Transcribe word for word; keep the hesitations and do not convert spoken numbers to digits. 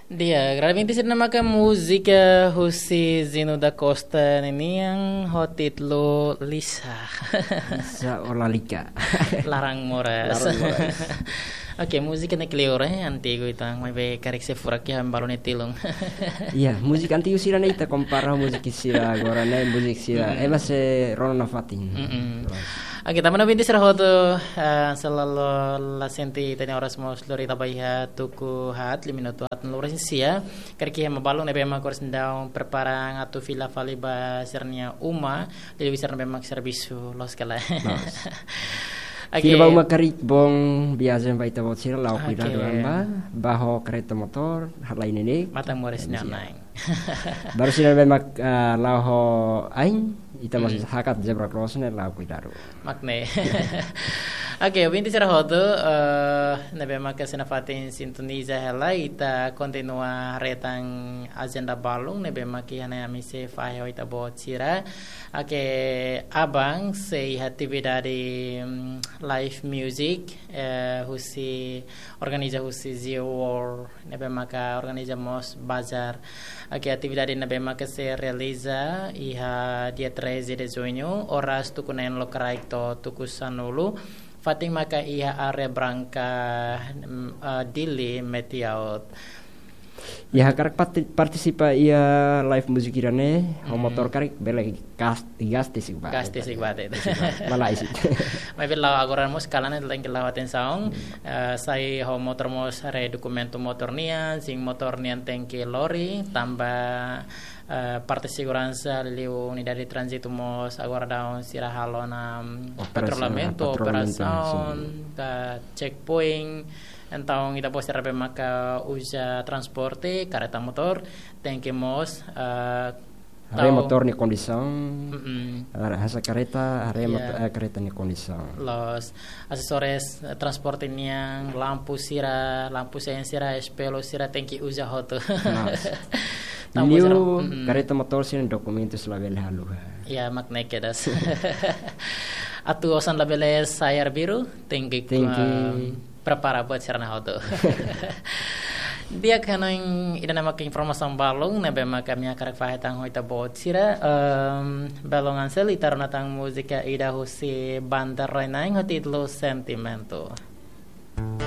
Di'ak, agradamenti sira ne'ebé maka múzika husi Zino da Costa ninian ho títulu Lisa. Lisa ou Lalika. Laran moras. Laran moras. Oke, múzika ne'e kleur, eh, antigu entaun, maibé karik sei furak iha balu nia tilun. Iya, múzika antigu sira-ne'e ita kompara múzika sira agora ne'e, múzika sira. Mm-mm. Ema sei rona nafatin. Mm-mm. Terus. Oke, tanba ouvinte sira hotu, eh, selalu la sente ita-nia oras mós lori taba iha tuku haat, lima minutu haat no lima minutu sia. Karik iha ema balu ne'ebé mak oras ne'e daudaun prepara atu fila fali ba sira-nia uma, liuliu sira ne'ebé mak servisu loos ka lae. Loos. Oke. Fila ba uma karik bom viajen ba ita-boot sira, la'o kuidadu. Oke. An ba, bá ho kareta motór, halai neineik. Matan moris. Iya. Nanain. Baru sira ne'ebé mak, eh, la'o ho ain, ita mós, hmm, hakat zebra cross ne'e la'o kuidadu. Mak ne'e. Oke, ouvinte sira hotu, eh, ne'ebé maka sei nafatin sintoniza hela, ita kontinua haree tan ajenda balun ne'ebé mak iha ne'e ami sei fahe ho ita-boot sira. Oke, aban sei iha atividade, mm, live music, eh, husi, organiza husi Zio World, ne'ebé maka organiza mós bazar. Oke, atividade ne'ebé maka sei realiza iha dia treze de junho, oras tuku neen lokraik to'o tuku sanulu. Fatin maka iha área branka, mm, eh, Dili Metiaut. Iha hakarak parti-, partisipa iha live musik ida-ne'e, ho, hmm, motór karik bele gas, gas tesik ba. Gas tesik ba, te. Tesik ba. Malae sih. Maibé la'o agora mós kalan ne'e tenke la'o atensaun. Hmm. Eh, sai ho motór mós haree dokumentu motór nian, sin motór nian tenke lori, tanba, eh, parte seguransa liu unidade tránzitu mós agora daudaun sira halo ona, mm, operasaun, patrulhamentu, patrulhamentu, operasaun, sin, ka checkpoint. Entaun, ita-boot sira ne'ebé maka uza transporte, kareta motór, tenke mós, eh, haree tau motór nia kondisaun, mm-mm, haree hanesan kareta, haree, iya, mot-, eh, kareta nia kondisaun. Loos, asesoris, eh, transporte nian, lampu sira, lampu sein sira, espellu sira, tenke uza hotu. Loos. Tanba, liu sira, mm-mm, kareta motór sira-nia dokumentus labele haluha. Iya, mak ne'e kedas. Atu osan labele sai arbiru, tenke, tenke, em, prepara buat sira-ne'e hotu. Di'ak, hanoin ida-ne'e maka informasaun balun ne'ebé maka ami hakarak fahe tan ho ita-boot sira. Em, belun Ansel, ita rona tan múzika ida husi Banda Rainai ho títulu Sentimento.